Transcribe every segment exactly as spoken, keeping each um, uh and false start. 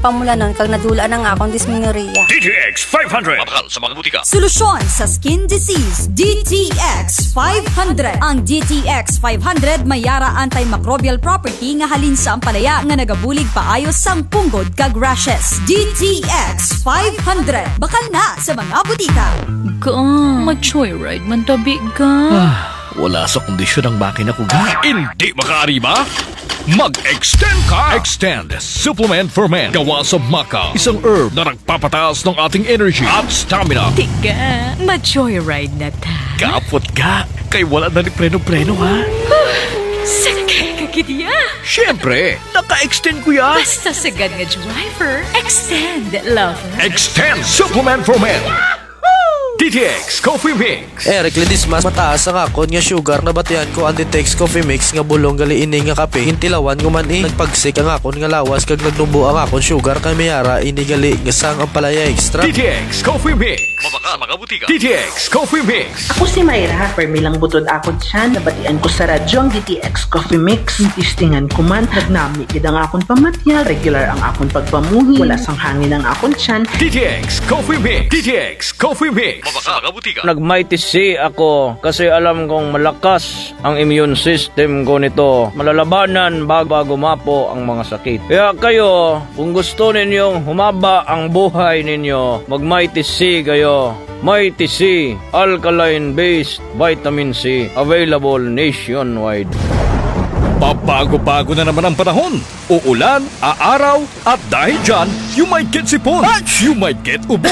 pamulanon kag nadula na ang akon dysmenorrhea. D T X five hundred. Mabakal sa mga butika. Solusyon sa skin disease, D T X five hundred. Ang D T X five hundred may ara antimicrobial property nga halin sa ampalaya nga nagabulig paayo sang punggod kag rashes. D T X five hundred. Bakal na sa mga butika. Ga, ma-joyride man tabi, ga. Ah, wala sa kondisyon ang makina ko, ga. Hindi makaariba? Mag-extend ka! Extend Supplement for Men. Gawa sa maca, isang herb na nagpapataas ng ating energy at stamina. Tiga, ma-joyride na ta. Kapot, ga. Kay wala na ni preno-preno, ha? Sakay ka gid ya. Siyempre, naka-extend ko ya. Basta sagad nga driver, extend, lover. Extend Supplement for Men. D T X Coffee Mix. Eric Ledesma, mataas ang akon nga sugar, nabatian ko ang D T X Coffee Mix nga bulong gali ini nga kape, gintilawan ko man, eh. Nagpagsik ang akon nga lawas kag nagnubo ang akon sugar, kay may ara ini gali nga sang ampalaya extract. D T X Coffee Mix. Mabakal sa mga butika. D T X Coffee Mix. Ako si Myra, permi lang butod akon tiyan, nabatian ko sa radyo ang D T X Coffee Mix. Testingan ko man, nagnami gid ang akon pamatyag, regular ang akon pagpamuhi, wala sang hangin ang akon tiyan. D T X Coffee Mix. D T X Coffee Mix. Mabakal sa mga butika. Nag-Mighty C ako kasi alam kong malakas ang immune system ko nito. Malalabanan bag-, bago mapo ang mga sakit. Kaya kayo, kung gusto ninyong humaba ang buhay ninyo, mag-Mighty C kayo. Mighty C, alkaline-based vitamin C, available nationwide. Pabago-bago na naman ang panahon. Uulan, aaraw, at dahil dyan, you might get sipon. You might get ubo.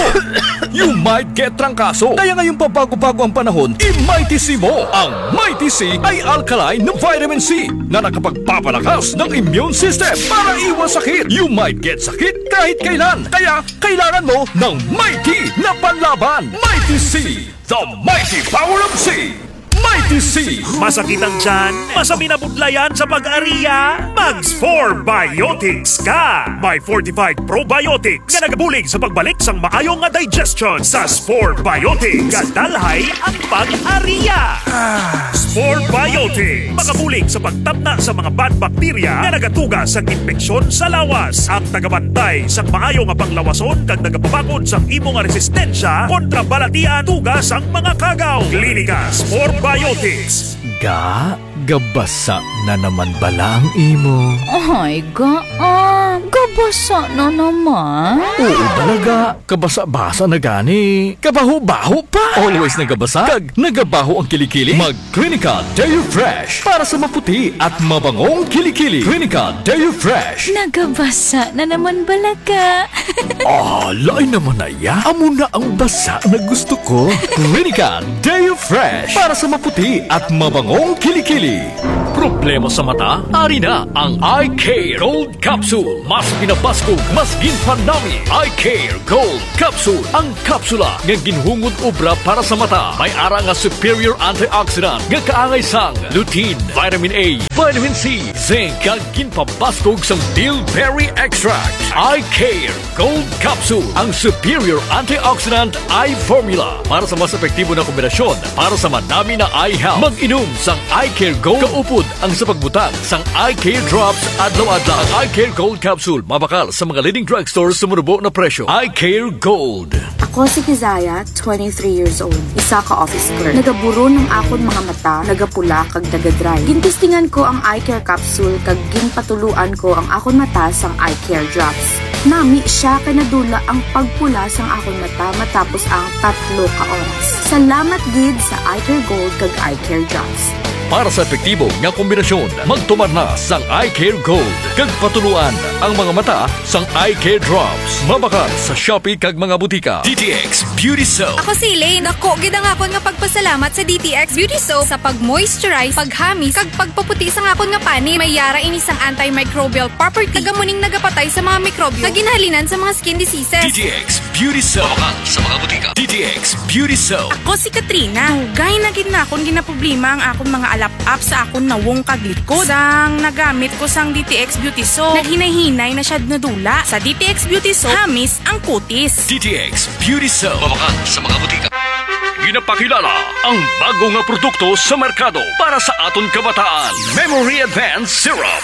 You might get trangkaso. Kaya ngayong pabago-bago ang panahon, i-Mighty C mo. Ang Mighty C ay alkaline na vitamin C na nakapagpapalakas ng immune system para iwas sakit. You might get sakit kahit kailan. Kaya kailangan mo ng Mighty na panlaban. Mighty C, the mighty power of C. Mighty C. Masakit ang tiyan? Masabi na budlayan sa pag-aria? Mag-Spore Biotics ka! May fortified probiotics nga nagabulig sa pagbalik sang maayo nga digestion. Sa Spore Biotics, gadalhay ang pag-aria. Spore Biotics, makabulig sa pagtamna sa mga bad bacteria nga nagatuga sang impeksyon sa lawas. Ang tagabantay sang maayo nga panglawason kag nagapabakod sang imo nga resistensya kontra balatian tuga sang mga kagaw. Klinika Spore Biotics. Ga, gabasa na naman bala ang imo? Ay, ga, ah, gabasa na naman? Oo bala, ga. Kabasa-basa na gani. Kabaho-baho pa. Always nagabasa kag nagabaho ang kilikili. Mag Clinica Deo Fresh para sa maputi at mabangong kilikili. Clinica Deo Fresh. Nagabasa na naman bala ka. Ah, lain naman na ya. Amo na ang basa na gusto ko. Clinica Deo Fresh para sa maputi at mabangong kilikili. Problema sa mata? Ari na ang Eye Care Gold Capsule. Mas ginabaskog, mas ginpanami. Eye Care Gold Capsule. Ang kapsula nga ginhungod obra para sa mata. May ara nga superior antioxidant nga kaangay sang lutein, vitamin A, vitamin C, zinc, kag ginpabaskog sang bilberry extract. Eye Care Gold Capsule, ang superior antioxidant eye formula para sa mas epektibo na kombinasyon para sa manami na eye health. Mag-inom sang Eye Care Gold kaupod ang sa pagbutang sang Eye Care Drops adlaw-adlaw. Ang Eye Care Gold Capsule mabakal sa mga leading drugstores sa manubo na presyo. Eye Care Gold. Ako si Kizaya, twenty-three years old, isa ka office clerk. Nagaburon ang akon mga mata, nagapula kag naga-dry. Gintestingan ko ang Eye Care Capsule kag ginpatuloan ko ang akon mata sang Eye Care Drops. Nami siya kay nadula ang pagpula sang akon mata matapos ang tatlo ka oras. Salamat gid sa Eye Care Gold kag Eye Care Drops. Para sa epektibo nga kombinasyon, magtumar na sang Eye Care Gold kag patuloan ang mga mata sang Eye Care Drops. Mabakal sa Shopee kag mga butika. D T X Beauty Soap. Ako si Elaine. Dako gid ang akon nga pagpasalamat sa D T X Beauty Soap sa pag-moisturize, paghamis, kag pagpaputi sang akon nga panit. May ara ini sang antimicrobial property. Taga muning nagapatay sa mga mikrobyo. Kag ginahalinan sa mga skin diseases. D T X Beauty Soap. Mabakal sa mga butika. D T X Beauty Soap. Ako si Katrina. Dugay na gid nakon ginaproblema ang akon mga alap-ap sa akon nawong kag likod. Sang nagamit ko sang D T X Beauty Soap, naghinay-hinay na siya nadula. Sa D T X Beauty Soap, hamis ang kutis. D T X Beauty Soap. Mabakal sa mga butika. Ginapakilala ang bago nga produkto sa merkado para sa aton kabataan. Memory Advance Syrup.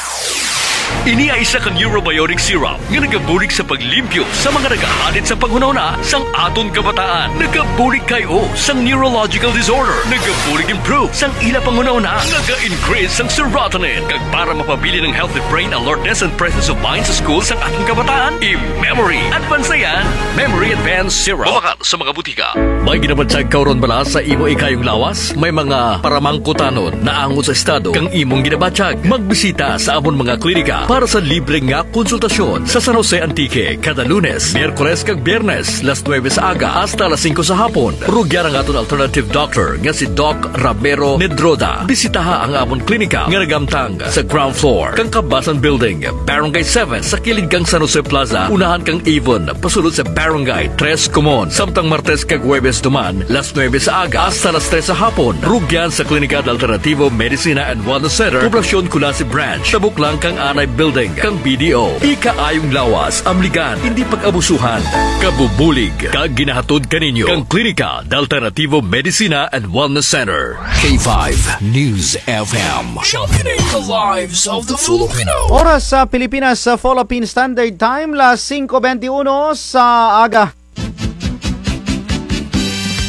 Ini ay isa ka neurobiotic syrup nga nagabulig sa paglimpyo sa mga nagahalit sa panghunahuna sang aton kabataan. Nagabulig kay-o sang neurological disorder. Nagabulig improve sang ila panghunahuna. Naga-increase sang serotonin. Kag para mapabilin ang healthy brain alertness and presence of mind sa school sang aton kabataan, i-Memory Advance na yan. Memory Advance Syrup. Mabakal sa mga butika. May ginabatyag ka run bala sa imo ikayong lawas? May mga paramangkutanon naangot sa estado kang imong ginabatyag? Magbisita sa amon mga klinika para sa libre nga konsultasyon sa San Jose, Antique, kada Lunes, Miyerkules kag Biyernes, las nuebe sa aga hasta las singko sa hapon. Rugyan ang aton alternative doctor nga si Doc Ramiro Nedroda. Bisitaha ang amon klinika nga naghamtang sa ground floor kang Kabasan Building, Barangay seven, sa kilid kang San Jose Plaza, unahan kang Avon, pasulod sa Barangay Tres Comon. Samtang Martes kag Huwebes duman, las nuebe sa aga hasta las tres sa hapon. Rugyan sa Klinika de Alternativo Medicina and Wellness Center, Poblacion Culasi Branch, tabok lang kang Anay Building kang B D O. Ikaayong lawas, amligan, indi pag-abusuhan. Kabubulig kag ginahatod kaninyo kang Klinika de Alternativo Medicina and Wellness Center. K five News F M. Championing the lives of the Filipino. Oras sa Pilipinas, sa Philippine Standard Time, las singko bente uno sa aga.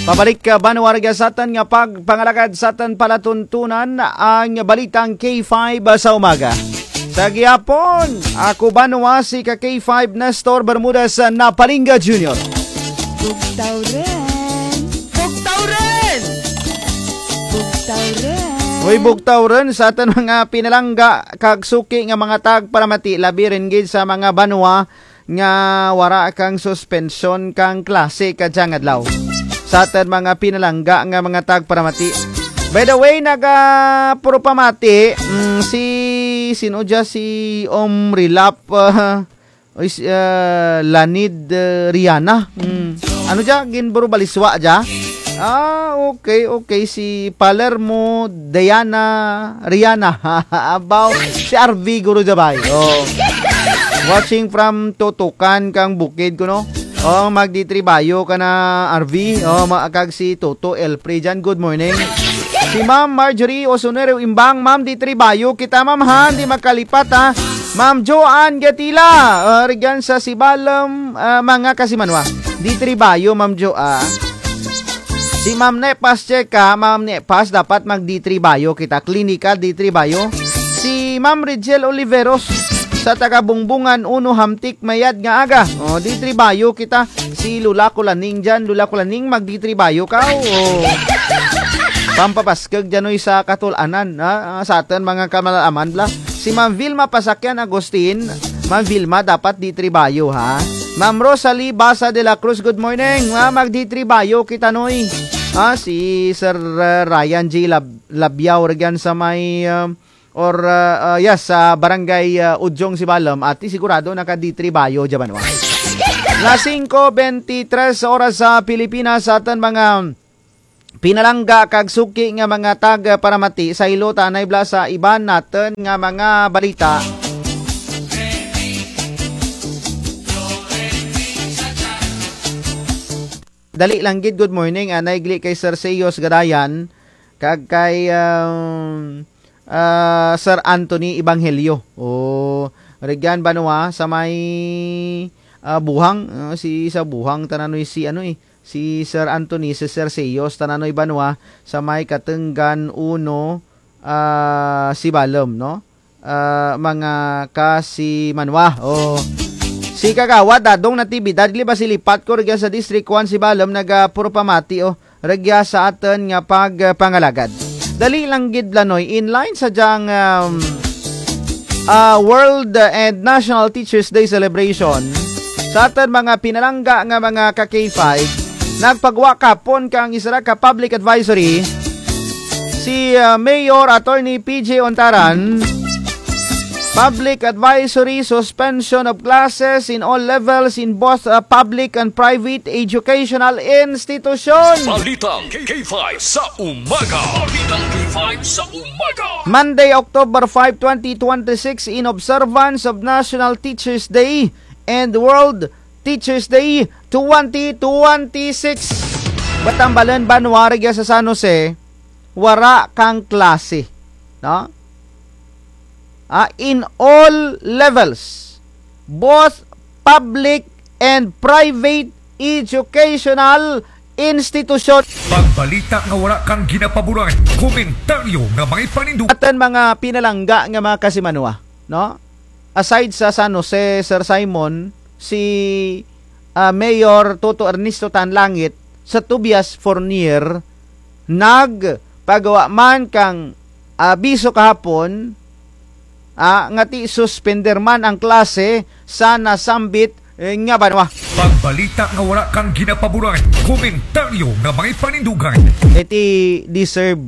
Pabalik ka, banwa, rugya sa atun nga pagpangalagad sa atun palatuntunan ang balitang K five sa umaga. Sa gihapon, ako, banwa, si ka K five Nestor Bermudez Napalinga Junior. Bugtaw run! Bugtaw run! Bugtaw run! Uy, bugtaw run sa atun mga pinalangga kag suki nga mga tagparamati, labi run gid sa mga banwa nga wara kang suspensyon kang klase kadyang adlaw. Sa atun mga pinalangga nga mga tagparamati. By the way, naga-, puro pamati, mm, si, sin-o dya, si Om Rilap, ah, uy, si, ah, Lanid, ah, Riana. Mm. Ano dya? Ginburubaliswa dya? Ah, okay, okay. Si Palermo Diana Riana. Abaw, si R V guro dya bay. Oh. Watching from Tutukan kang Bukid kuno. Oh, magditribayo ka na, R V. Oh, ma-, kag si Toto Elfrey dyan. Good morning. Si Ma'am Marjorie Osunero Imbang, Ma'am, ditribayo kita, Ma'am, ha? Di makalipat, ha? Ma'am Joanne Gatila, ah, rugyan sa Sibalom, ah, mga kasimanwa. Ditribayo, Ma'am Jo, ah. Si Ma'am Nepas Checa, Ma'am Nepas, dapat magditribayo kita. Klinikal ditribayo. Si Ma'am Rigel Oliveros, sa taga Bungbungan uno, hamtik mayad nga aga. O, ditribayo kita. Si Lola Kulaning dyan, Lola Kulaning, magditribayo ka. O. Pampapaskeg dyan, oy, sa katul-anan, ha? Ah, sa atun mga kamalaman bala. Si Ma'am Vilma Pasakyan Agustin, Ma'am Vilma, dapat ditribayo, ha? Ma'am Rosalie Basa de la Cruz, good morning. Ah, magditribayo kita, noy. Ah, si Sir, ah, Ryan J Lab-, Labiao, rugyan sa may, ah, or, ah, ah, yes, sa barangay, ah, Udyong, Sibalom. Ati, sigurado nakaditribayo dyan, banwa. Las singko bente tres oras sa Pilipinas, sa atun mga pinalangga kag suki nga mga tagparamati, saylo ta anay bala sa iban natun nga mga balita. Dali lang gid, good morning, anay gali kay Sir Seyos Gadayan, kag kay, um, ah, Sir Anthony Evangelio. O, rugyan banwa sa may, ah, Buhang, ah, si sa Buhang, tananoy si ano, eh, si Sir Anthony, si Sir Seyos, tananoy banwa, sa may Katenggan uno, ah, Sibalom, no? Ah, mga kasimanwa, o. Si Kagawad Dadong Natividad, gali ba si Lipat ko, rugya sa District one Sibalom, naga puro pamati, o. Rugya sa atun nga pagpangalagad. Dali lang gid, Lanoy, in line sa dyang, um, ah, World, uh, and National Teachers Day celebration, sa atun mga pinalangga nga mga ka K five, nagpagwa kahapon kang isara ka public advisory si, uh, Mayor Attorney P J Ontaran, public advisory, suspension of classes in all levels in both, uh, public and private educational institution. Balitang K five sa umaga. Balitang K five sa umaga. Monday, October five, twenty twenty-six, in observance of National Teachers Day and World Teachers Day twenty twenty-six. Batambalan, banwa, rugya sa San Jose, wara kang klase, no? ah, in all levels, both public and private educational institution. Pagbalita nga wara kang ginapaboran, komentaryo nga may panindugan. Atun mga pinalangga nga mga kasimanwa, no? Aside sa San Jose, Sir Simon, si, ah, Mayor Toto Ernesto Tanlangit sa Tobias Fornier, nagpagawa man kang abiso kahapon, ah, nga ti suspender man ang klase sa nasambit, eh, nga banwa. Pagbalita nga wara kang ginapaboran, komentaryo nga may panindugan. Iti deserve.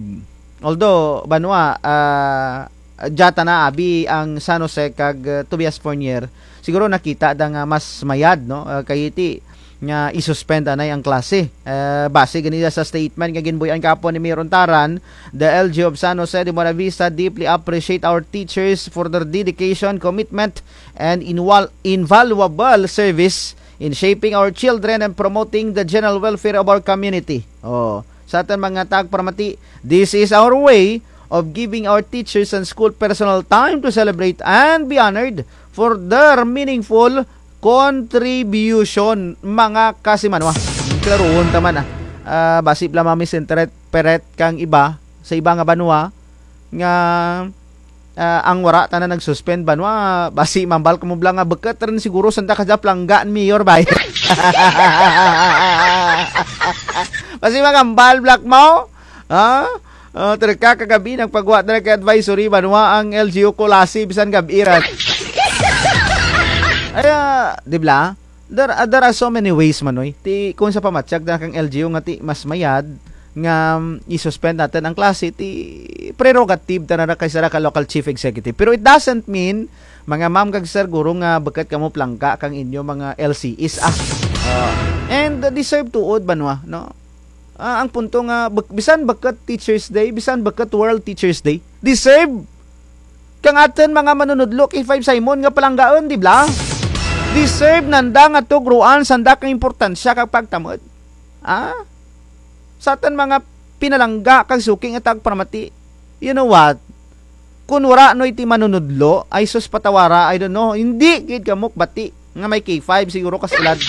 Although, banwa, ah, dya tana abi ang San Jose kag, ah, Tobias Fornier, siguro nakita da nga mas mayad, no? Ah, kay iti nga i-suspend anay ang klase. Eh, base gani sa statement nga ginbuy-an kahapon ni Mayor Untaran, the L G U of San Jose de Buenavista deeply appreciate our teachers for their dedication, commitment, and inwal-, invaluable service in shaping our children and promoting the general welfare of our community. Oh, sa atun mga tagparamati, this is our way of giving our teachers and school personnel time to celebrate and be honored for their meaningful contribution, mga kasimanwa. Klarohon ta man, ah. Ah, basi bala ma-misinterpret kang iba sa iba nga banwa nga, ah, ang wara tana nag-suspend banwa, basi mambal kamo bala nga bukut run siguro sanda kadya palangga ni Mayor bay. Basi magambal bala kamo, ha? Ah, terka kagabi, nagpagwa tana kang advisory banwa ang L G U Culasi, bisan gab-i run. Ay, ah, di bala? There, ah, there are so many ways man, oy. Ti, kung sa pamatyag tana kang L G U nga ti mas mayad nga, mm, i-suspend natun ang klase, ti prerogative tana ra kang sara ka local chief executive. Pero it doesn't mean, mga ma'am kag sir, guro nga bukut kamo palangga kang inyo mga L C Es, ah. Ah, and, ah, deserve tuod banwa, no? Ah, ang punto nga, buk-, bisan bukut Teachers Day, bisan bukut World Teachers Day, deserve kang atun mga manunudlo K five Simon nga palanggaun, di bala? Deserve nanda nga tugroan sanda kang importansya kag pagtamud. Ah? Sa atun mga pinalangga kag suki nga tagparamati, you know what? Kon wara noy ti manunudlo, ay sus patawara, I don't know, indi gid kamo kabati nga may K five siguro ka eskwelahan.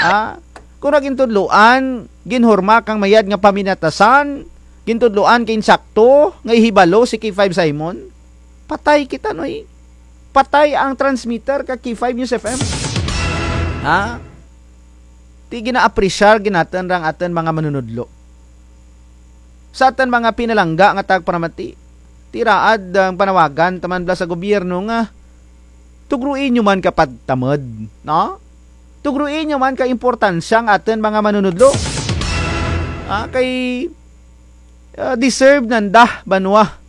Ha? Kon wara gintudloan, ginhurma kang mayad nga paminatasan, gintudloan kang insakto nga ihibalo si K five Simon, patay kita, noy. Patay ang transmitter kang K five News F M. Ha? Ti gina-apresyar gid natun ra ang atun mga manunudlo. Sa atun mga pinalangga nga tagparamati, ti raad ang panawagan taman bala sa gobyerno nga tugroi nyo man ka pagtamud, no? Tugroi nyo man ka importansya ang atun mga manunudlo. Ah, kay, ah, deserve nanda banwa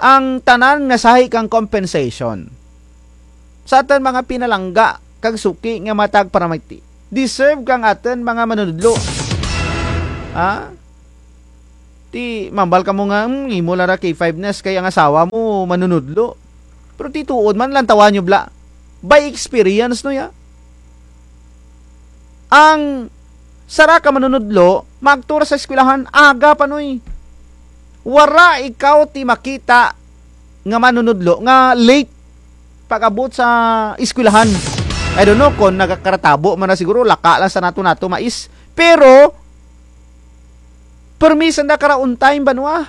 ang tanan nga sahi kang compensation. Sa atun mga pinalangga kag suki nga mga tagparamati, deserve kang atun mga manunudlo. Ha? Ti, mambal kamo nga, "Hmm, imo lang ra K five News kay ang asawa mo manunudlo." Pero ti tuod man, lantawa nyo bala. By experience, no, ya? Ang sara ka manunudlo, maagto ra sa eskwelahan, aga pa, noy. Wara ikaw ti makita nga manunudlo nga late pag-abot sa eskwelahan. I don't know kon nagakaratabo man ra siguro, laka lang sa nato-nato mais. Pero, permi sanda kara on time banwa.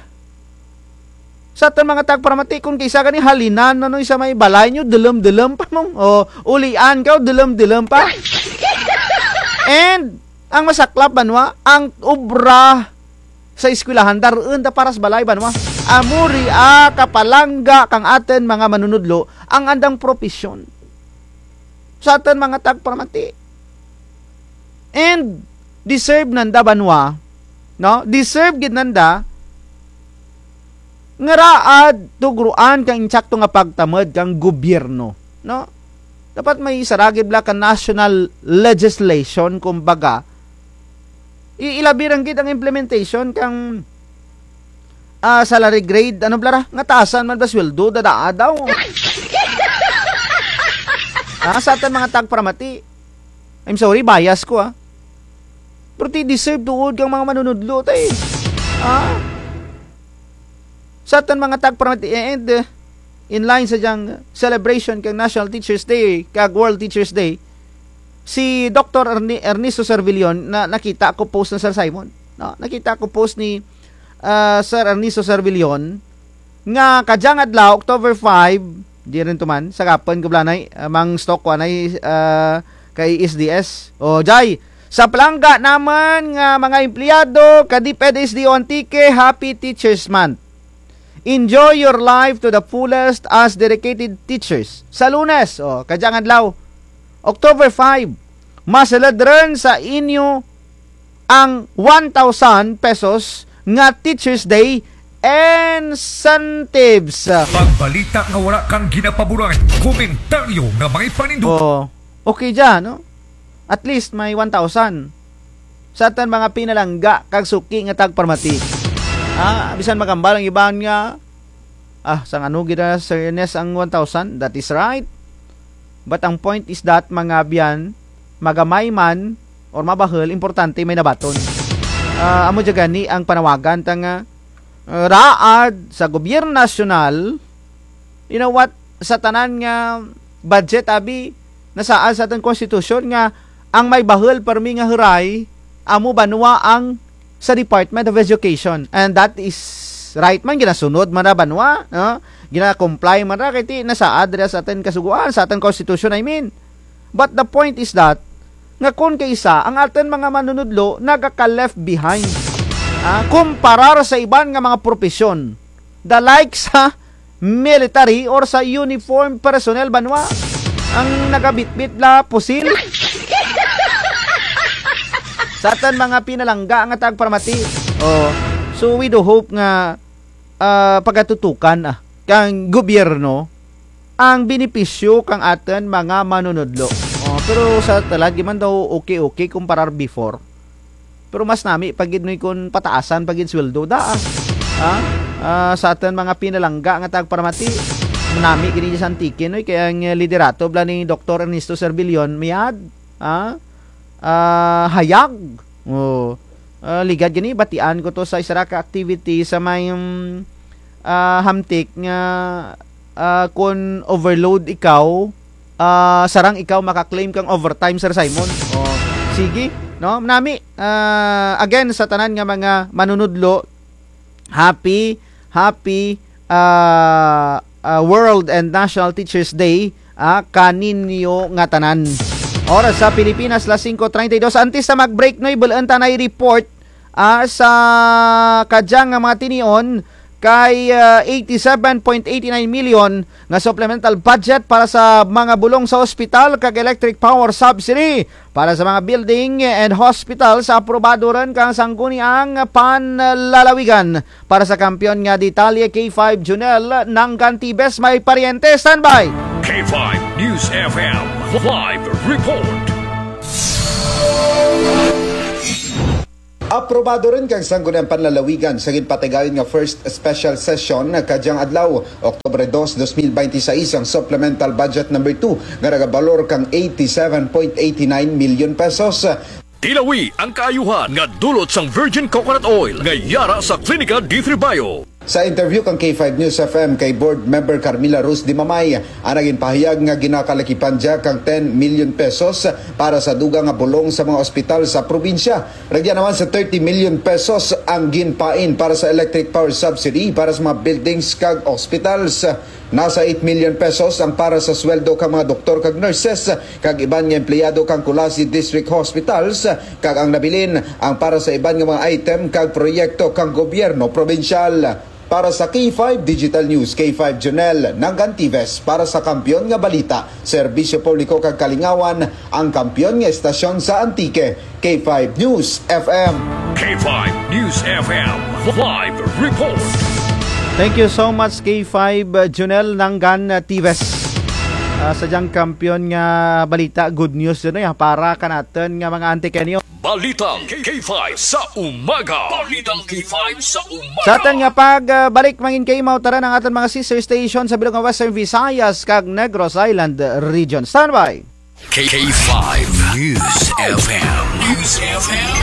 Sa atun mga tagparamati, kon kis-a gani halinan na, noy, sa may balay nyo, dulum-dulum pa mo. O, ulian kaw, dulum-dulum pa. And, ang masaklap banwa, ang obra sa eskwelahan, dar-un da para sa balay banwa. Amo ria kapalangga kang atun mga manunudlo ang andang propesyon. Sa atun mga tagparamati. And deserve nanda banwa, no? Deserve gid nanda nga raad tugroan kang insakto nga pagtamud kang gobyerno, no? Dapat may sara gid bala ka national legislation, kumbaga. I-, ilabi run gid ang implementation kang, ah, salary grade, ano bala ra, nga taasan man bala sweldo, dadaa daw. Ah, sa atun mga tagparamati. I'm sorry, bias ko, ah. Pero ti deserve tuod kang mga manunudlo, tay. Ah? Sa atun mga tagparamati, eh, and, eh, in line sa dyang celebration kang National Teachers Day, kag World Teachers Day, si Doktor Erni-, Ernesto Servillon, na, nakita ko post na, Sir Simon. No? Nakita ko post ni, ah, Sir Ernesto Servillon, nga kadyang adlaw, October five, di run to man, sa gapon ko blanay, ah, mang stock ko anay, ah, kay S D S. O, dya, sa palangga namun nga mga empleyado ka DepEd S D O Antique, Happy Teachers Month. Enjoy your life to the fullest as dedicated teachers. Sa Lunes, o, kadyang adlaw, October five, masulud run sa inyo ang one thousand pesos nga Teachers Day incentives. Pagbalita nga wara kang ginapaboran, komentaryo nga may panindot. O, okay dya, no? At least may one thousand. Sa atun mga pinalangga kag suki nga tagparamati. Ah, bisan magambal ang iban nga, ah, sang ano gid na, Sir Ernest, ang one thousand? That is right. But ang point is that, mga abyan, magamay man or mabahul, importante may nabaton. Ah, amo dya gani ang panawagan ta nga, ah, raad sa gobyerno nasyonal, you know what, sa tanan nga budget, abi, nasaad sa atun konstitusyon nga ang may bahul permi nga huray, amo banwa ang sa Department of Education. And that is right man, ginasunod man ra banwa, no? Gina-comply man ra, kay ti nasaad dira sa atun kasugoan, sa atun konstitusyon, I mean. But the point is that, nga kon kaisa, ang atun mga manunudlo nagaka-left behind. Ah, kumparar sa iban nga mga propesyon. The likes sa military or sa uniform personnel banwa. Ang nagabitbit la pusil. Sa atun mga pinalangga nga tagparamati. O, so we do hope nga, ah, pagatutukan, ah, kang gobyerno ang benepisyo kang atun mga manunudlo. O, pero sa tulad, di man daw okay-okay kumparar before. Pero mas nami pa gid, Noy, kon pataasan pa gid sweldo da, ah. Ha? Ah, sa atun mga pinalangga nga tagparamati, nami gid dya sa Antique, Noy, kay ang, eh, liderato bala ni Doktor Ernesto Servillon, mayad, ah, ah, hayag. O. Ah, ligad gani, batian ko to sa isara ka activity sa may, mm, ah, hamtik nga, ah, kon overload ikaw, ah, sarang ikaw maka-claim kang overtime, Sir Simon. O, sige, no? Nami, ah, again, sa tanan nga mga manunudlo, happy, happy, ah, ah, World and National Teachers Day, ah, kaninyo nga tanan. Oras sa Pilipinas, las singko treinta y dos. Antes sa mag-break, Noy, bul-un ta anay report, ah, sa kadyang nga mga tinion, kay, ah, eighty-seven point eighty-nine million nga supplemental budget para sa mga bulong sa ospital kag electric power subsidy para sa mga building and hospital sa aprobado run kang Sangguniang Panlalawigan. Para sa kampiyon nga detalye, K five Junel Nangan Tibes may paryente. Standby! K five News F M live report. Aprobado run kang Sangguniang Panlalawigan sa ginpatigayon nga first special session kadyang adlaw, Oktubre dos, dos mil binte y seis, ang Supplemental Budget Number Two nga nagabalor kang eighty-seven point eighty-nine million pesos. Tilawi ang kaayuhan nga dulot sang virgin coconut oil nga yara sa Klinika D three Bio. Sa interview kang K five News F M kay Board Member Carmela Rose Dimamay, ana ginpahayag nga ginakalakipan dya kang ten million pesos para sa dugang nga bulong sa mga ospital sa probinsya. Rugya naman sa thirty million pesos ang ginpain para sa electric power subsidy para sa mga buildings kag hospitals. Nasa eight million pesos ang para sa sweldo kang mga doktor kag nurses kag iban nga empleyado kang Culasi District Hospitals, kag ang nabilin ang para sa iban nga mga item kag proyekto kang gobyerno probinsyal. Para sa K five Digital News, K five Junel Nangan Tibes, para sa kampiyon nga balita, serbisyo publiko kag kalingawan, ang kampiyon nga estasyon sa Antique, K five News F M. K five News F M live report. Thank you so much, K five, uh, Junel Nangan, uh, Tibes. Ah, sa dyang kampiyon nga balita, good news yun, eh, para kanatun nga mga Antiqueño. Balitang K five sa umaga. Balitang K five sa umaga. Sa atun nga pag, ah, balik, mangin kay mautaran ang atun mga sister station sa bilog nga Western Visayas kag Negros Island Region. Standby! K five News F M. News F M.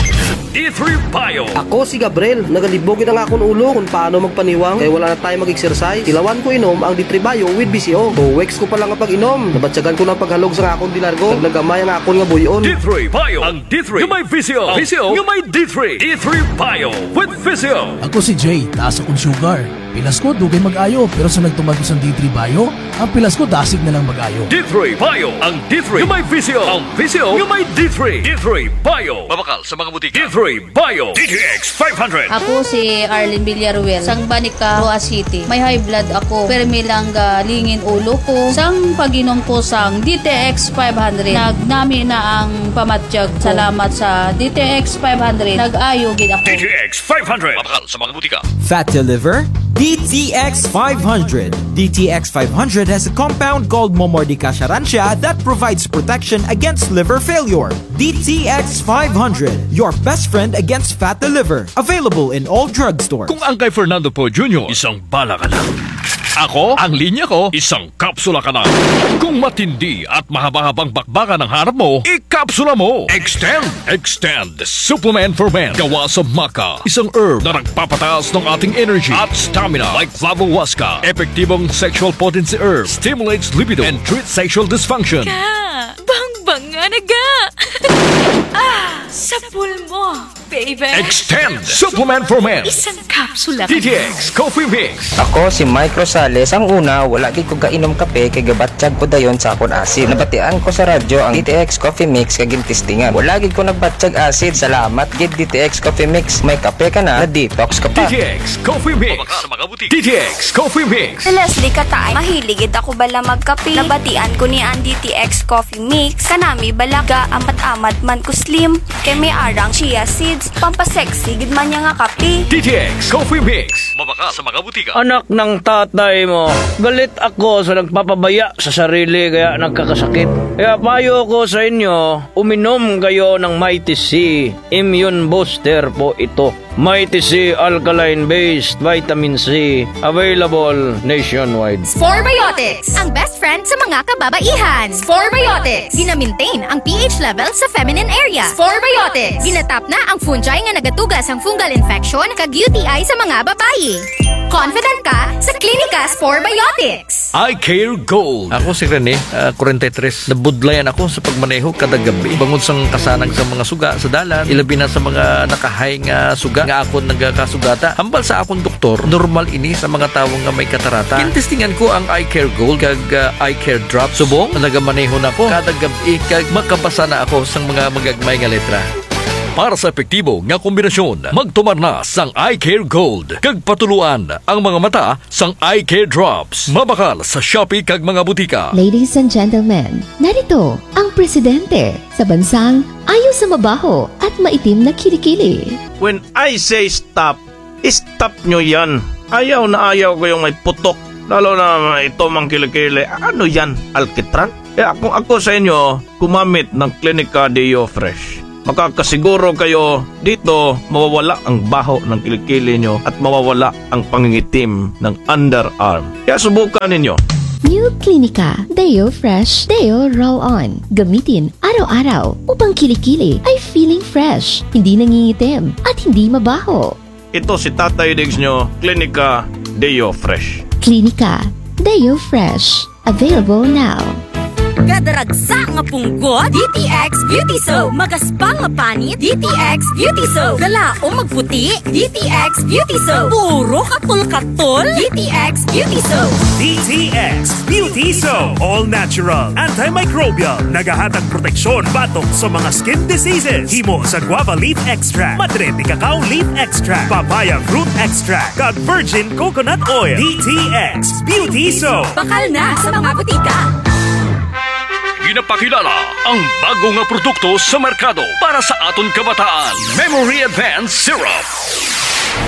D three Bio. Ako si Gabriel. Nagalibog gid ang akon ulo kon paano magpaniwang kay wala na time mag-exercise. Tilawan ko inom ang D three Bio with V C O. Two weeks ko pa lang nga pag-inom, nabatyagan ko na ang paghalog sang akon delargo. Naglagamay ang akon nga buy-on. D three Bio. Ang D three nga may V C O. Ang V C O nga may D three. D three Bio with V C O. Ako si Jay, taas akon sugar. Pilas ko, dugay mag-ayo, pero sa nagtuman ko sang D three Bio, ang pilas ko dasig na lang mag-ayo. D three Bio, ang D three nga may V C O, ang V C O nga may D three. D three Bio. Mabakal sa mga butika. D three Bio. D T X five hundred. Ako si Arlene Villaruel, sang Banica, Roxas City. May high blood ako, permi lang galingin ulo ko. Sang pag-inom ko sang D T X five hundred, nagnami na ang pamatyag ko. Salamat sa D T X five hundred, nag-ayo gid ako. D T X five hundred. Mabakal sa mga butika. Fatty liver? D T X five hundred. D T X five hundred has a compound called Momordica charantia that provides protection against liver failure. D T X five hundred, your best friend against fatty liver. Available in all drugstores. Kung ang kay Fernando Poe Junior, isang bala ka lang. Ako, ang linya ko, isang kapsula ka lang. Kung matindi at mahaba-habang bakbakan ang hanap mo, ikapsula mo. Extend, Extend Supplement for Men. Gawa sa maca, isang herb na nagpapataas ng ating energy at stamina. Like Flavo Huasca, epektibong sexual potency herb, stimulates libido and treats sexual dysfunction. Ka, bangbanga na ga. Ah, sa pulmo, baby. Extend Supplement for Men. Isang kapsula ka lang. D T X Coffee Mix. Ako si Mike Rosales. Ang una, wala gid ko gainom kape kay gabatyag ko dayon sa akon asid. Nabatian ko sa radyo ang D T X Coffee Mix kag gintestingan. Wala gid ko nagbatyag asid. Salamat gid D T X Coffee Mix. May kape ka na, na-detox ka pa. D T X Coffee Mix. Mabakal sa mga butika. D T X Coffee Mix. Si Leslie Kataay, mahilig gid ako bala magkape. Nabatian ko ni ang D T X Coffee Mix. Kanami bala ga-amat-amat man ko slim. Kay may arang chia seeds. Pampasexy gid man niya nga kape. D T X Coffee Mix. Mabakal sa mga butika. Anak ng tatay mo, galit ako sa nagpapabaya sa sarili kaya nagkakasakit. Kaya payo ko sa inyo, uminom kayo ng Mighty C. Immune booster po ito. Mighty C alkaline-based vitamin C, available nationwide. Spore Biotics, ang best friend sa mga kababaihan. Spore Biotics, gina-maintain ang pH level sa feminine area. Spore Biotics, ginatap na ang fungi nga nagatuga sang fungal infection kag U T I sa mga babayi. Confident ka sa Klinika Spore Biotics. Eye Care Gold. Ako si Rene, ah, kwarenta y tres. Nabudlayan ako sa pagmaneho kada gab-i. Bangod sang kasanag sa mga suga sa dalan, ilabi na sa mga naka-high nga suga nga akon nagakasugata. Hambal sa akon doktor, normal ini sa mga tawo nga may katarata. Gintestingan ko ang Eye Care Gold kag, ah, Eye Care Drops. Subong, nagamaneho na ko kada gab-i kag makabasa na ako sang mga magagmay nga letra. Para sa epektibo nga kombinasyon, magtumar na sang Eye Care Gold kag patuloan ang mga mata sang Eye Care Drops. Mabakal sa Shopee kag mga butika. Ladies and gentlemen, narito ang presidente sa bansang ayaw sa mabaho at maitim na kilikili. When I say stop, stop nyo yan. Ayaw na ayaw ko yung may putok. Lalo na ito mang kilikili. Ano yan? Alkitran? Eh, kung ako sa inyo, gumamit ng Klinika Deo Fresh. Makakasiguro kayo dito, mawawala ang baho ng kilikili nyo at mawawala ang pangingitim ng underarm. Kaya subukan ninyo. New Klinika Deo Fresh Deo Roll-On. Gamitin araw-araw upang kilikili ay feeling fresh, hindi nangingitim, at hindi mabaho. Ito si Tatay Diggs nyo, Klinika Deo Fresh. Klinika Deo Fresh. Available now. Kada ragsa nga punggot, D T X Beauty Soap. Magaspa nga panit, D T X Beauty Soap. Galaom magputi, D T X Beauty Soap. Puro katol-katol, D T X Beauty Soap. D T X Beauty Soap. All natural, antimicrobial. Nagahatag proteksyon batok sa mga skin diseases. Himo sa guava leaf extract, madre de cacao leaf extract, papaya fruit extract, kag virgin coconut oil. D T X Beauty Soap. Bakal na sa mga butika. Ginapakilala ang bago nga produkto sa merkado para sa aton kabataan, Memory Advance Syrup.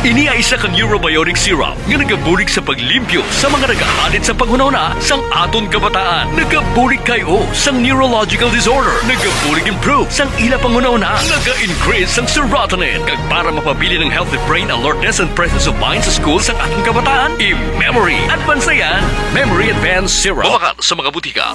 Ini ay isa ka neurobiotic syrup nga nagabulig sa paglimpyo sa mga nagahalid sa panghunahuna sang aton kabataan. Nagabulig kay-o sang neurological disorder. Nagabulig improve sang ila panghunahuna. Naga-increase sang serotonin. Kag para mapabilin ang healthy brain alertness and presence of mind sa school sang aton kabataan, i-Memory Advance na yan. Memory Advance Syrup. Mabakal sa mga butika.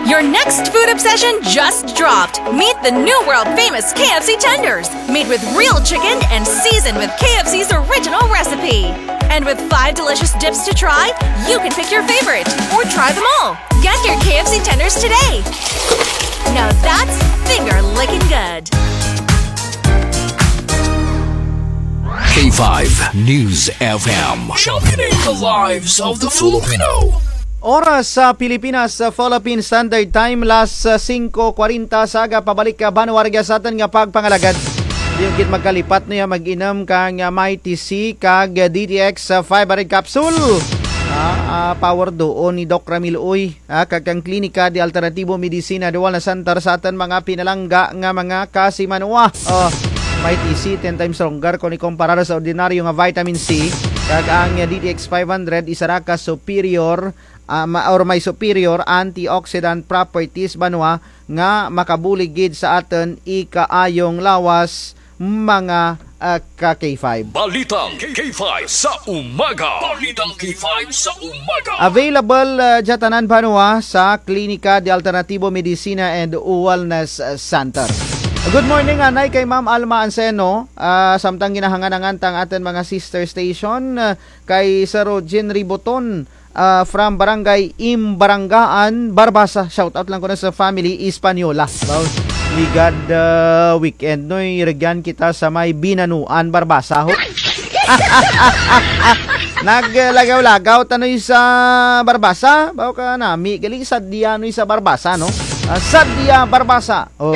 Your next food obsession just dropped. Meet the new world famous K F C tenders, made with real chicken and seasoned with K F C's original recipe. And with five delicious dips to try, you can pick your favorite or try them all. Get your K F C tenders today. Now that's finger licking good. K five News F M. Championing the lives of the Filipino. Oras sa Pilipinas, sa Philippine Standard Time, las, ah, singko kwarenta sa aga, pabalik ka banwa rugya sa atun nga pagpangalagad. Di gid magkalipat, no, ya mag-inum kang, ah, Mighty C kag, ah, D T X, ah, five hundred capsule. Ah, ah, power duon ni Doc Ramil, uy. Ah, kag kang Klinika de Alternatibo Medicina de Wellness Center sa atun mga pinalangga nga mga kasimanwa. Oh, Mighty C, ten times stronger kon ikumparar sa ordinaryo nga vitamin C. Kag ang D T X five hundred, isara ka superior, ah, ma-, or may superior antioxidant properties banwa nga makabulig gid sa atun ikaayong lawas, mga, ah, ka K five. Balitang K five sa umaga. Balitang K five sa umaga. Available, ah, dya tanan banwa sa Klinika de Alternativo Medicina and Wellness, ah, Center. Good morning, anay kay Ma'am Alma Anseno. Ah, samtang ginahangan-angan ta ang atun mga sister station, ah, kay Sir Rogin Riboton, ah, from Barangay Imbarangaan, Barbaza. Shout out lang kuno sa family Española. Baw, ligad, ah, weekend, no, irugyan kita sa may Binanuan, Barbaza, ho. Naglagaw-lagaw tanoy sa Barbaza. Baw ka nami gali, sadya noy sa Barbaza, no? Ah, sadya Barbaza. Oh.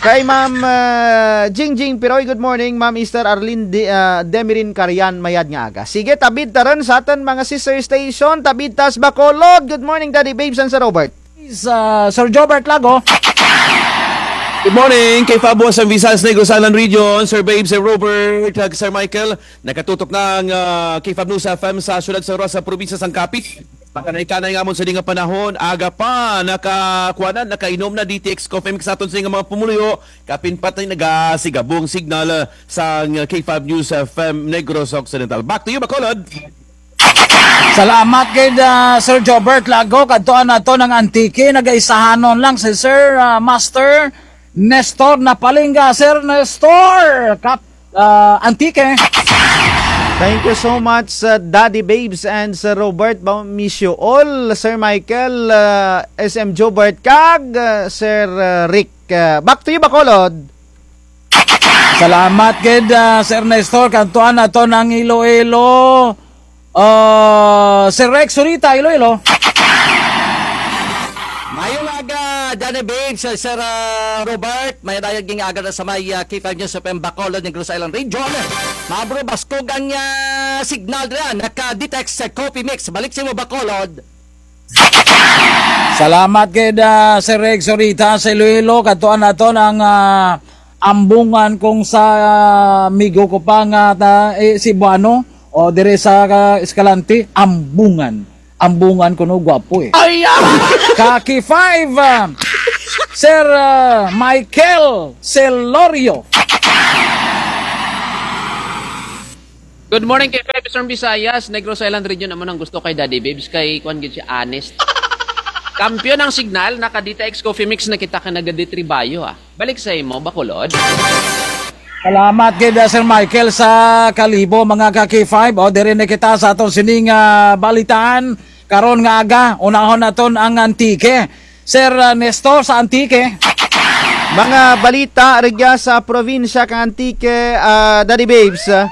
Kay Ma'am, ah, Jingjing Piroy, good morning. Ma'am Esther Arlene De-, ah, Demirin Carian, mayad nga aga. Sige, tabid ta run sa atun mga sister station, tabid ta sa Bacolod. Good morning, Daddy Babes and Sir Robert. Sa Sir Jobert Lago. Good morning, K five Boss and Visayas Negros Island Region, Sir Babes, Sir Robert, kag Sir Michael. Nakatutok na ang, ah, K five News F M sa siyudad sa Roxas, sa probinsya sang Capiz. Makanay-kanay nga amon sa dya nga panahon, aga pa, nakakuan na, nakainom na D T X Coffee Mix sa atun sa nga mga pumuluyo, kapin patay nagasigabo ang signal, ah, sang K five News F M Negros Occidental. Back to you, Bacolod. Salamat gid, ah, Sir Jobert Lago, kadtuan naton ang Antique, nagaisahanon lang si Sir, ah, Master Nestor Napalinga, Sir Nestor, kap-, ah, Antique. Thank you so much, uh, Daddy Babes and Sir Robert. Baw, miss you all, Sir Michael, uh, S M Jobert, kag, uh, Sir, uh, Rick. Uh, back to you, Bacolod. Salamat gid, ah, Sir Nestor. Kadtuan naton ang Iloilo. Ah, Sir Rex Zurita, Iloilo. Maayong aga, Daddy Babes, Sir, Sir, ah, Robert. Maayong aga run sa may, ah, K five News F M Bacolod, Negros Island Region. Mabro, baskog ang, ah, signal dyan. Naka-detect sa Coffee Mix. Balik sa imo, Bacolod. Salamat gid, ah, Sir Rex Zurita sa Iloilo. Kadtuan naton ang, ah, Ambungan kung sa, ah, amigo ko pa nga ta-, eh, Cebuano. O, diri sa, ah, Escalante, Ambungan. Ambungan kuno, gwapo eh. Ay, ah! Kaki five, ah, Sir, ah, Michael Celorio. Good morning, K five Eastern Visayas, Negros Island Region. Amo nang gusto kay Daddy Babes, kay kuan gid siya, honest. Kampiyon ang signal, naka-D T X Coffee Mix na kita kay nagaditribayo, ah. Balik sa imo, Bacolod. Salamat gid, ah, Sir Michael sa Kalibo, mga ka K five. O, diri na kita sa aton sining, ah, balitaan. Karon nga aga, unahon naton ang Antique. Sir, ah, Nestor sa Antique. Mga balita rugya sa probinsya kang Antique, ah, Daddy Babes, ah.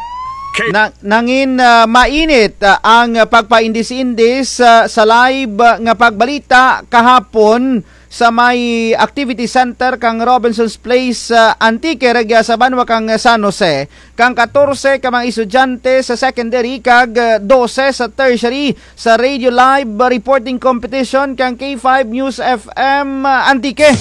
Na-, nangin, ah, mainit, ah, ang pagpaindis-indis, ah, sa live, ah, nga pagbalita kahapon sa may activity center kang Robinson's Place, ah, Antique, rugya sa banwa kang San Jose. Kang katorse ka mga estudyante sa secondary kag, ah, dose sa tertiary sa radio live reporting competition kang K five News F M, ah, Antique.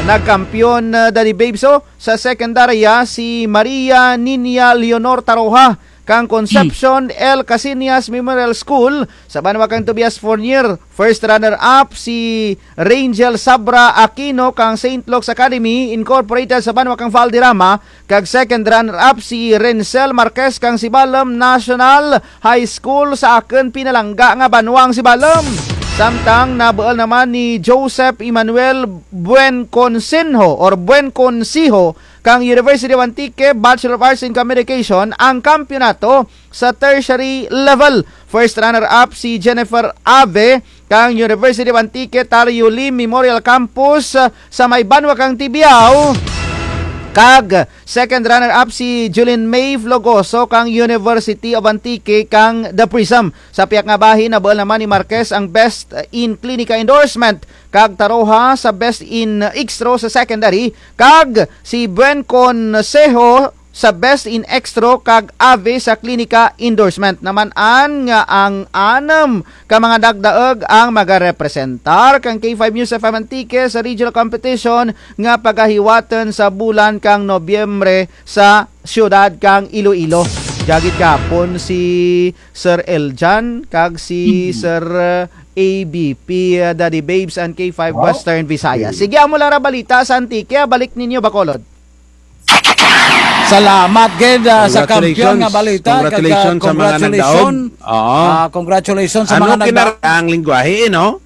Nagkampiyon, ah, Daddy Babes, o, sa sekundarya si Maria Niña Leonor Taroja kang Concepcion L. Casillas Memorial School sa banwa kang Tobias Fornier. First runner-up si Rangel Sabra Aquino kang Saint Luke's Academy Incorporated sa banwa kang Valderrama. Kag second runner-up si Rencel Marquez kang Sibalom National High School sa akun pinalangga nga banwa ang Sibalom. Samtang nabuul naman ni Joseph Emmanuel Buenconsinho or Buenconsiho kang University of Antique, Bachelor of Arts in Communication, ang kampiyonato sa tertiary level. First runner-up si Jennifer Ave kang University of Antique Tario Lim Memorial Campus, ah, sa may banwa kang Tibiao. Kag second runner-up si Julin May Flogoso kang University of Antique kang The Prism. Sa piyak nga bahin, nabuul naman ni Marquez ang Best in Clinica Endorsement, kag Taroha sa Best in Extro sa Secondary, kag si Buen Consejo sa Best in Extro kag Ave sa Klinika Endorsement. Naman-an nga ang anum ka mga dagdaug ang magarepresentar kang K five News F M Antique sa regional competition nga pagahiwatun sa bulan kang Nobyembre sa siyudad kang Iloilo. Dya gid gihapon si Sir Eljan kag si Sir, uh, A B P, uh, Daddy Babes and K five Western Visayas. Sige, amo lang ra balita sa Antique. Balik ninyo, Bacolod. Salamat gid, ah, sa kampiyon nga balita. Congratulations. Congratulations sa mga nagdaog. Oo. Ah, congratulations sa mga nagdaog. Ano, kinaray-a ang lengguwahe, eh, no?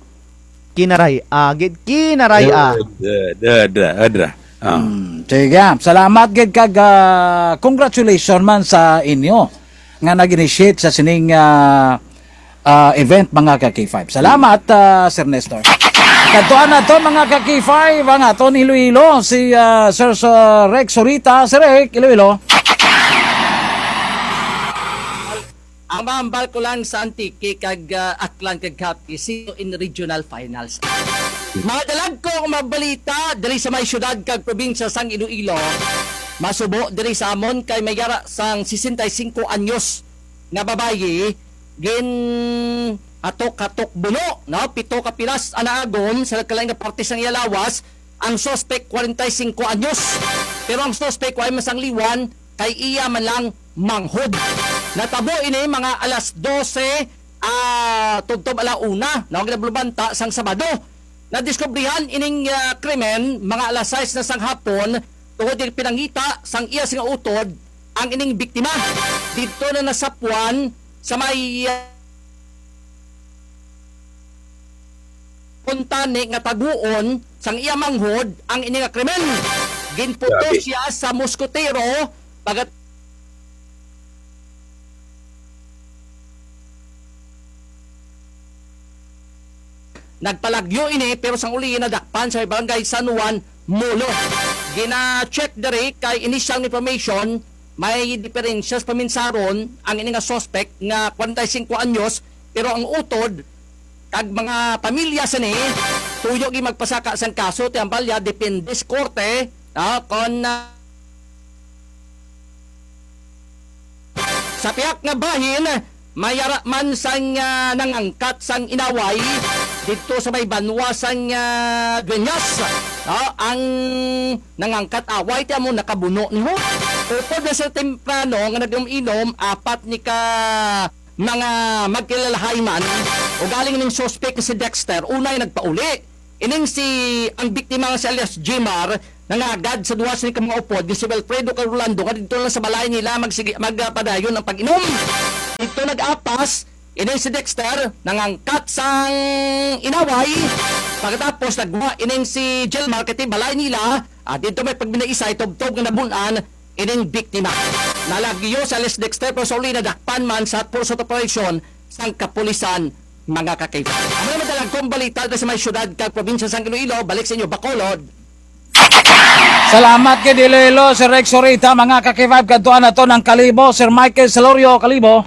Kinaray-a, gid, kinaray-a. Dra, dra, dra, dra. Ah. Hmm, sige, salamat gid kag, ah, congratulations man sa inyo nga nag-initiate sa sining, ah, ah, event, mga ka K five. Salamat, ah, Sir Nestor. Kadtuan nato, mga ka K five, ang aton Iloilo, si, ah, Sir, Sir Rex Sorita. Sir Rex, Iloilo. Ang mahambal ko lang sa Antique kag, ah, Aklan kag Capiz, sino in regional finals. Mga dalagko nga mga balita diri sa may siyudad kag probinsya sang Iloilo. Masubo diri sa amon kay may yara sang sesenta y singko anyos nga babayi, gin-hatok-hatok buno, no? Pito ka pilas ang naagon sa nagkalain nga parte sang iya lawas. Ang suspek, kwarenta y singko anyos. Pero ang suspek, wa man sang liwan, kay iya man lang manghod. Natabo ini mga alas dose, ah, tubtob ala una, no? Ginablubanta sang Sabado. Nadiskubrihan ining, ah, krimen, mga alas sais na sang hapon, tungod kay pinangita sang iya sing utod ang ining biktima. Didto na nasapwan sa may, ah, kuntani nga taguon sang iya manghod ang ini nga krimen. Ginputos siya sa muskotero, pagat- Nagpalagyo ini, pero sang uli nadakpan sa may barangay San Juan, Molo. Gina-check diri kay initial information, may diferensya sa paminsaron ang ini nga suspect nga kwarenta y singko anyos, pero ang utod kag mga pamilya sini, tuyo gid magpasaka sang kaso, ti hambal dya, depende sa korte, ah, kon, ah, Sa piyak nga bahin, may yara man sang, ah, nangangkat sang inaway didto sa may banwa sang, ah, Dueñas. Ah, ang nangangkat away, ti amo nakabuno ni ho. Upod na sa temprano nga nag-inom-inom, apat ni ka mga magkilalahay man, ugaling ning suspek nga si Dexter, unay nagpauli. Ining si, ang biktima nga si alias Jimar, nangagad sa duha sini ka mga upod, nga si Wilfredo kag Rolando, nga didto lang sa balay nila magsigi-, magpadayon ang pag-inom. Didto nag-apas, ining si Dexter, nangangkat sang inaway. Pagkatapos, nagguha ining si Jilmar, kay ti balay nila, ah, didto may pagbinaisay, tubtob nga nabun-an, ining biktima. Nalagyo si alias Dexter, pero sa uli nadakpan man sa pursuit operation sang kapulisan, mga ka-K five. Amo na man dalagkong balita diri sa may siyudad kag probinsya sang Iloilo. Balik sa inyo, Bacolod. Salamat gid Iloilo, Sir Rex Sorita, mga ka-K five. Kadtuan nato ang Kalibo, Sir Michael Salorio, Kalibo.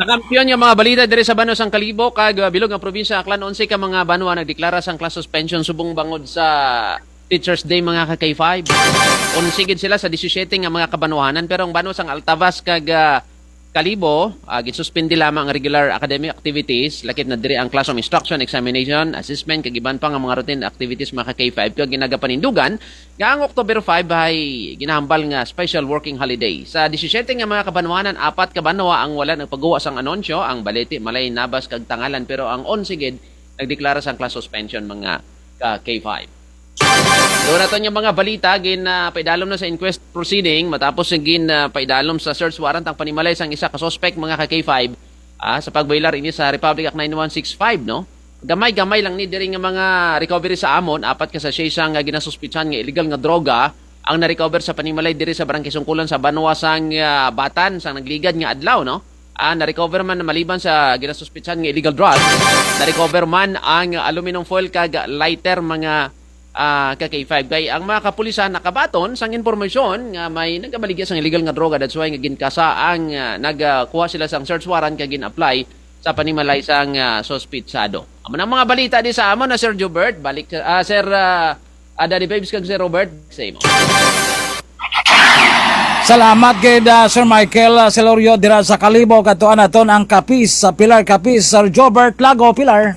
Sa kampiyon nga mga balita diri sa banwa sang Kalibo kag, ah, bilog nga probinsya, Aklan, onse ka mga banwa nagdeklara sang class suspension subong bangod sa Teachers Day, mga ka-K five. Onse gid sila sa disisiyete nga mga kabanwahanan, pero ang banwa sang Altavas kag, ah, Kalibo, ah, ginsuspindi lamang ang regular academic activities, lakip na diri ang classroom instruction, examination, assessment, kag iban pa nga mga routine activities, mga ka-K five, kag ginagapanindugan nga ang October five hay ginahambal nga special working holiday. Sa disisiyete nga mga kabanwahanan, apat ka banwa ang wala nagpaguwa sang anunsyo, ang Balete, Malay, Nabas, kag Tangalan, pero ang onse gid nagdeklara sang class suspension, mga ka-K five. Duha nato nga mga balita, gin, ah, paidalom na sa inquest proceeding matapos nga gin, ah, paidalom sa search warrant ang panimalay sang isa ka suspect, mga ka-K five. Ah, sa pagboilar ini sa Republic Act nine one six five, no? Gamay-gamay lang ni diri nga mga recovery sa amon, apat ka sachet sang, ah, ginasuspitsahan nga illegal nga droga ang na-recover sa panimalay diri sa Barangay Sungkulan sa banwa sang, ah, Batan sang nagligad nga adlaw, no? Ah, na-recover man maliban sa ginasuspitsahan nga illegal drugs, na-recover man ang aluminum foil kag lighter, mga ah, ka K five. Kay ang mga kapulisan nakabaton sang impormasyon nga may nagabaligya sang illegal nga droga, that's why nga ginkasa ang, ah, nagkuha sila sang search warrant kag gin-apply sa panimalay sang, ah, suspitsado. Amo na ang mga balita di sa amon na Sir Jobert, balik sa, ah, Sir, ah, ah, Daddy Babes kag Sir Robert, sa imo. Salamat gid, ah, Sir Michael, ah, Celorio dira sa Kalibo, katuan naton ang Capiz, sa Pilar Capiz, Sir Jobert Lago, Pilar.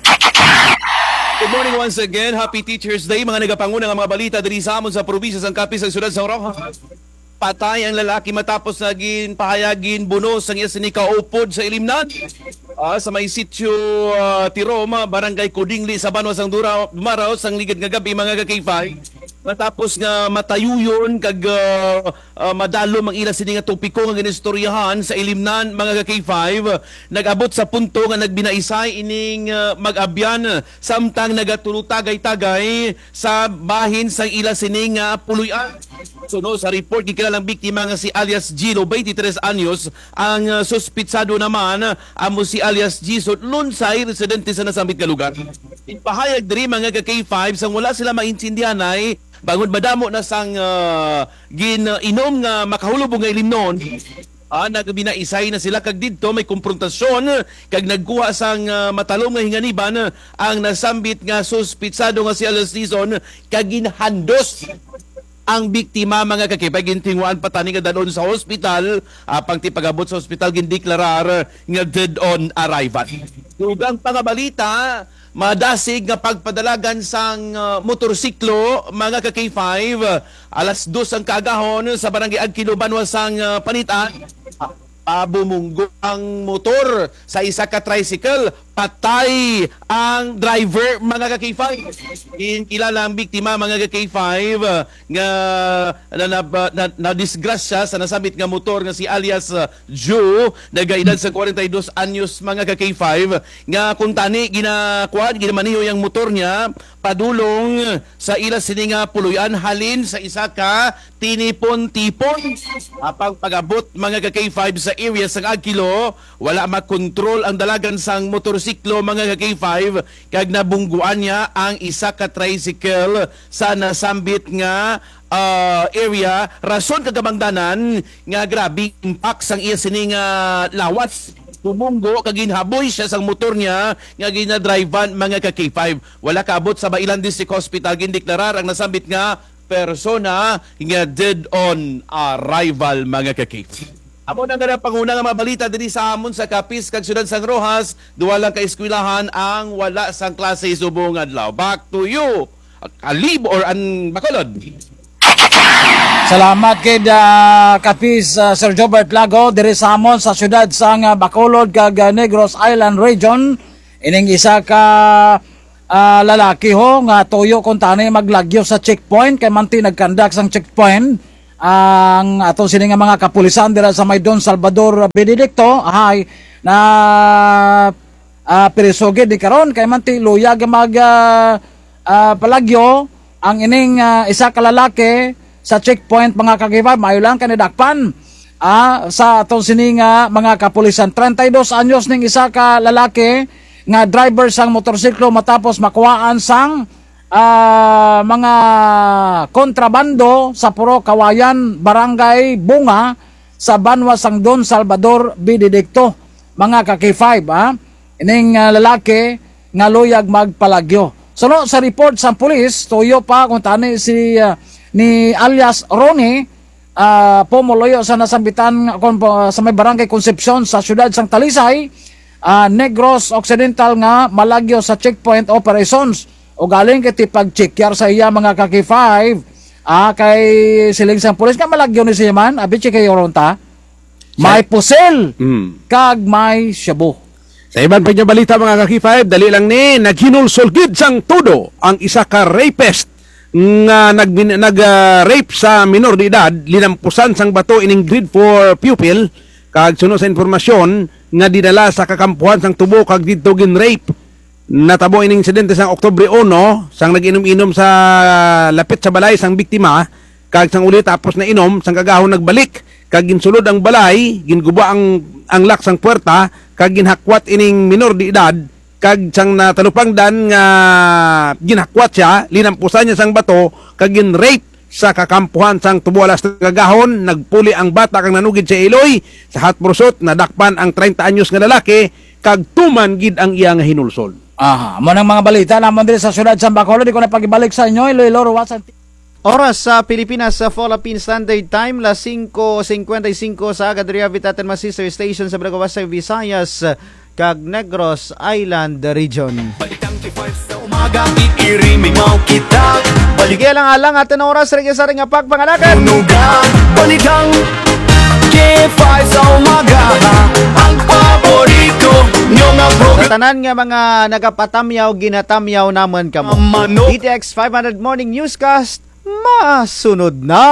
Good morning once again. Happy Teacher's Day. Mga nagapanguna nga mga balita diri sa amon sa probinsya sang Capiz, sa siyudad sang Roxas. Patay ang lalaki matapos nga ginpahayag nga bunos ang iya sini kaupod sa ilimnan. Ah, sa may sitio, ah, Tiroma, Barangay Codingle, sa banwa sang Dura-, Dumaraw, sang ligad nga gab-i, mga ka K five. Matapos nga matayuyon kag, ah, ah, madalom ang ila sini nga topiko nga ginistoryahan sa ilimnan, mga ka K five, nag-abot sa punto nga nagbinaisay ining, ah, mag-abyan samtang nagatulutagay-tagay sa bahin sang ila sini nga puloy-an. Suno sa report, gikilala ang biktima nga si alias Gilo, twenty-tres anyos, ang, ah, suspitsado naman, amo si alias Jason Lunsay, residente sa nasambit nga lugar. Ginpahayag diri, mga ka K five, sang wala sila maintindihanay, bangod madamo na sang, ah, gin-inom nga makahulubong nga ilimnon. Ah, nagbinaisay na sila kag didto may komprontasyon kag nagkuha sang, ah, matalom nga hinganiban ang nasambit nga suspitsado nga si alias Jason kag ginhandos ang biktima, mga ka K five, gintinguhaan pa tani nga dad-on sa hospital, apang ti pag-abot sa hospital, gindeklarar nga dead on arrival. Dugang pa nga balita, madasig nga pagpadalagan sang, ah, motorsiklo, mga ka K five, alas dos ang kaagahon sa Barangay Agkilo, banwa sang, ah, Panitan. Ah, bumunggo ang motor sa isa ka tricycle, patay ang driver, mga ka K five. Ginkilala ang biktima, mga ka K five, nga na, na, na, nadisgrasya sa nasambit nga motor nga si alias, ah, Joe, nagaedad sa kwarenta y dos anyos, mga ka K five, nga kuntani ginakuan, ginamaneho ang motor niya padulong sa ila sini nga puloy-an halin sa isa ka tinipon-tipon. Apang pag-abot, mga ka K five, sa area sang Agkilo, wala makontrol ang dalagan sang motorsiklo, mga ka K five, kag nabungguan niya ang isa ka tricycle sa nasambit nga, ah, area. Rason kag kabangdanan nga grabe impact sang iya sini nga lawas. Bumunggo kag ginhaboy siya sang motor niya nga ginadrivean, mga ka K five. Wala kaabot sa Bailan District Hospital, gindeklarar ang nasambit nga persona nga dead on arrival, mga ka K five. Amo na nga panguna nga mga balita diri sa amon sa Capiz kag siyudad sang Roxas, duha lang ka eskwelahan ang wala sang klase subong adlaw. Back to you, Kalib or an Bacolod. Salamat gid, ah, Capiz, ah, Sir Jobert Lago, diri sa amon sa siyudad sang, ah, Bacolod kag, ah, Negros Island Region. Ining isa ka, ah, lalaki ho nga tuyo kuntani maglagyo sa checkpoint kay manti nagkandak sang checkpoint ang aton sini nga mga kapulisan dira sa may Don Salvador Benedicto, hay na, ah, priso gid ni karon kay manti luyag mag, ah, ah, palagyo ang ining, ah, isa ka lalaki sa checkpoint, mga ka K five, maayo lang kay nadakpan, ah, sa aton sini nga mga kapulisan. Treinta y dos anyos ning isa ka lalaki nga driver sang motorsiklo matapos makuhaan sang, ah, mga kontrabando sa Purok Kawayan, Barangay Bunga, sa banwa sang Don Salvador Benedicto, mga ka K five, ah. Ining, ah, lalaki nga luyag magpalagyo. Suno sa report sang pulis, tuyo pa kuntani si, ah, ni alias Ronnie, ah, pumuluyo sa nasambitan kon, sa may Barangay Concepcion sa siyudad sang Talisay, ah, Negros Occidental nga malagyo sa checkpoint operations. Ugaling kay ti pagchekyar sa iya, mga ka K five, ah, kay siling sang pulis nga malagyo ni siya man, abi check kay Oronta. May pusil Mm. kag may shabu. Sa iban pa nga balita, mga ka K five, dali lang ni, naghinulsol gid sang todo ang isa ka rapist nga nagbin-, nag, ah, rape sa minor de edad, linampusan sang bato ining grade four pupil Kag suno sa impormasyon nga dinala sa kakampuhan sang tubo kag didto gin-rape. Natabo ining insidente sang Oktubre uno, sang nag-inom-inom sa lapit sa balay sang biktima, kag sang uli tapos na inom, sang kaagahon nagbalik, kag ginsulod ang balay, ginguba ang, ang lock sang puwerta, kag ginhakwat ining minor de edad, kag sang natalupangdan nga ginhakwat siya, linampusan niya sang bato, kag gin-rape sa kakampuhan sang tubo alas tres kaagahon, nagpuli ang bata kag nanugid sa iloy, sa hot pursuit, nadakpan ang treinta anyos nga lalaki, kag tuman gid ang iya nga hinulsol. Aha, amo nang mga balita namon diri sa siyudad sang Bacolod, di ko na pag-ibalik sa inyo, Iloilo, Roxas, Antique. Oras sa Pilipinas, sa Philippine Standard Time, las singko singkwenta y singko sa aga diri, Vitaten mga sister station sa Balagoas, sa Visayas, kag Negros Island Region. Balitang K five sa umaga, iirimingaw kita. Balik- Sige lang, alang atun oras, rugya sa arin nga pagpangalakan. Tunugan, balitang K five sa umaga, ang paborito nyo nga program. Sa tanan nga mga nagapatamyaw, ginatamyaw namun kamo. Manok. D T X five hundred Morning Newscast, masunod na.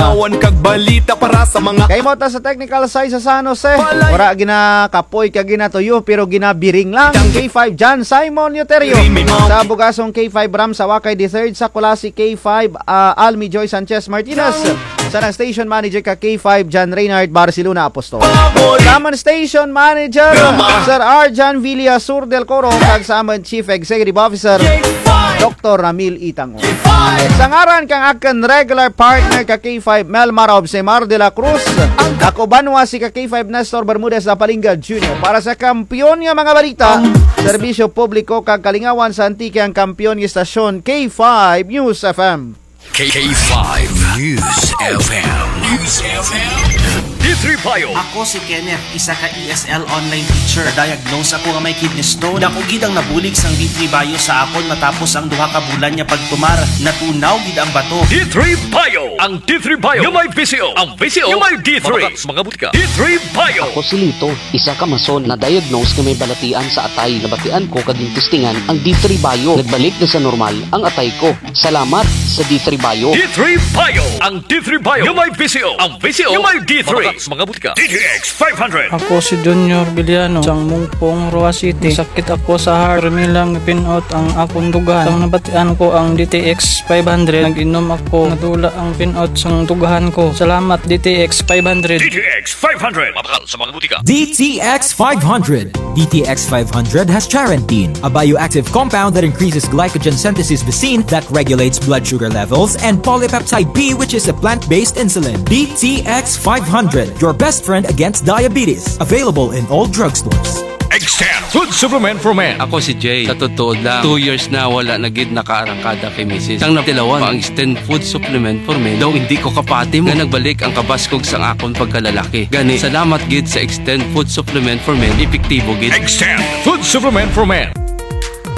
Ingawan kag balita para sa mga Kay mo ta sa technical side sa San Jose. Balay. Wara ginakapoy kag ginatuyo, pero ginabiring lang. Tang- K five John Simon Euterio. Rimi Mau. Sa Bugasong K five Ram Sawakay the third, sa Culasi K five, ah, Almi Joy Sanchez Martinez. Tang- Sa nang station manager ka K five John Reynard Barcelona Apostol. Pabor- Sa amun station manager, Rama. Sir Arjan Villasur del Coro, kag sa amun Chief Executive Officer, K five. Doktor Ramil Itang. Sa ngaran kang akun regular partner ka K five, Melmar Obsemar de la Cruz, ako banwa si ka K five Nestor Bermudez Apalinga Junior. Para sa kampiyon nga mga balita, serbisyo publiko kag kalingawan sa Antique, ang kampiyon nga istasyon, K five News F M. K five News F M. News F M. D three Bio. Ako si Kenneth, isa ka E S L online teacher. Diagnose ako nga may kidney stone. Dako gid ang nabulig sang D three Bio sa akon matapos ang duha ka bulan nga pagtumar. Natunaw gid ang bato. D three Bio. Ang D three Bio nga may V C O. Ang V C O nga may D three. Mabakal sa mga butika. D three Bio. Ako si Lito, isa ka mason, na-diagnose nga may balatian sa atay. Nabatian ko kag gintestingan ang D three Bio. Nagbalik na sa normal ang atay ko. Salamat sa D three Bio. D three Bio. Ang D three Bio nga may V C O. Ang V C O nga may D three. Mabakal sa mga butika. D T X five hundred. Ako si Junior Villano, sang Mungpong, Roxas City. Sakit ako sa heart. Permi lang pin-out ang akon dughan. Sang nabatian ko ang D T X five hundred, nag-inom ako. Nadula ang pin-out sang dughan ko. Salamat, D T X five hundred. D T X five hundred. Mabakal sa mga butika. D T X five hundred. D T X five hundred has charantine, a bioactive compound that increases glycogen synthesis vacin that regulates blood sugar levels, and polypeptide B, which is a plant-based insulin. D T X five hundred, your best friend against diabetes. Available in all drugstores. Extend Food Supplement for Men. Ako si Jay. Sa totoo lang, two years na wala na gid nakaarangkada kay misis. Sang natilawan pa ang Extend Food Supplement for Men, daw indi ko kapati mo nga nagbalik ang kabaskog sang akon pagkalalaki. Gani, salamat gid sa Extend Food Supplement for Men, epektibo gid. Extend Food Supplement for Men.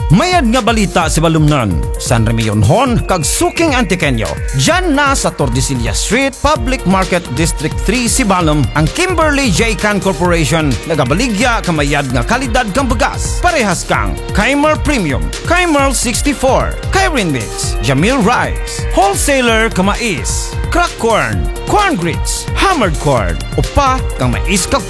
Mayad nga balita, Sibalomnon, San Remillon-hon kag suking Antiqueño. Dyan na sa Tordesillas Street, Public Market, District three, Sibalom, ang Kimberly J Can Corporation, nagabaligya ka mayad nga kalidad kang bugas. Parehas kang Keimer Premium, Keimer sixty-four, Keirin Mix, Jamil Rice, Wholesaler ka mais, crack corn, corn grits, hammered corn, upa kang mais kag